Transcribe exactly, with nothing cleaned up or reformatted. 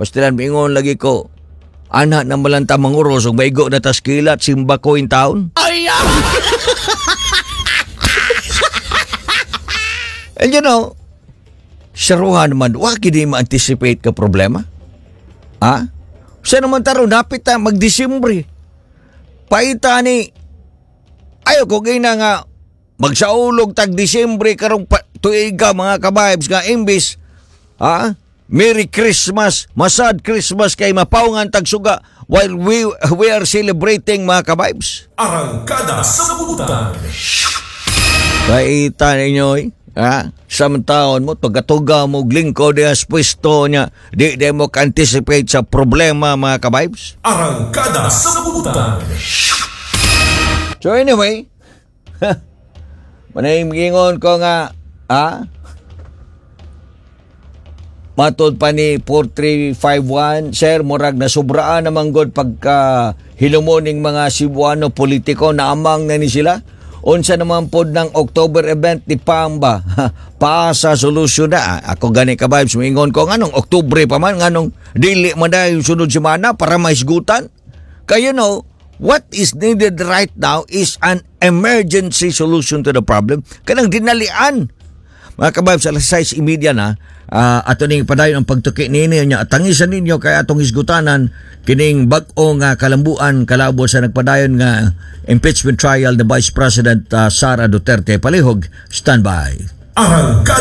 Pastilan, mingon lagi ko, ana na malang ta manguros ug maigo na tas kilat simba ko in town. Ay! And you know, saruhan naman, wa gid ma-anticipate ka problema. Ha? Sa naman taro, napit ta mag-Disyembre. Paita ni, ayo ko gina nga, magsaulog tag Disyembre karong pa, tuiga mga kabibes nga imbis, ha? Merry Christmas, masad Christmas kay mapaungan tagsuga while we we are celebrating mga kabibes. Arangkada sa Butan. Kaita ninyo eh. Ha? Sa taon mo, pagkatuga mo, lingkod diya sa pwesto niya, di, di mo ka-anticipate sa problema mga kabibes. Arangkada sa Butan. So anyway, manayimgingon ko nga, ha? Matod pa ni four three five one, "Sir, murag na sobraan naman god pagka hilumoning mga Cebuano politiko, naamang na ni sila. Unsa naman pod ng October event ni Pamba? Paasa solusyon na." Ah, ako gani ka vibes, moingon ko nganong Oktubre pa man, nganong dili man dayon sunod semana para mahisgutan. Kaya you know, what is needed right now is an emergency solution to the problem. Kanang dinalian. Mga kababs, alas sais trenta na, uh, ato ning padayon ang pagtuki nini nya. Tangisan ninyo kay atong hisgutanan kining bag-o nga kalambuan kalabot sa nagpadayon nga impeachment trial ni Vice President uh, Sara Duterte. Palihog, standby. Arangkada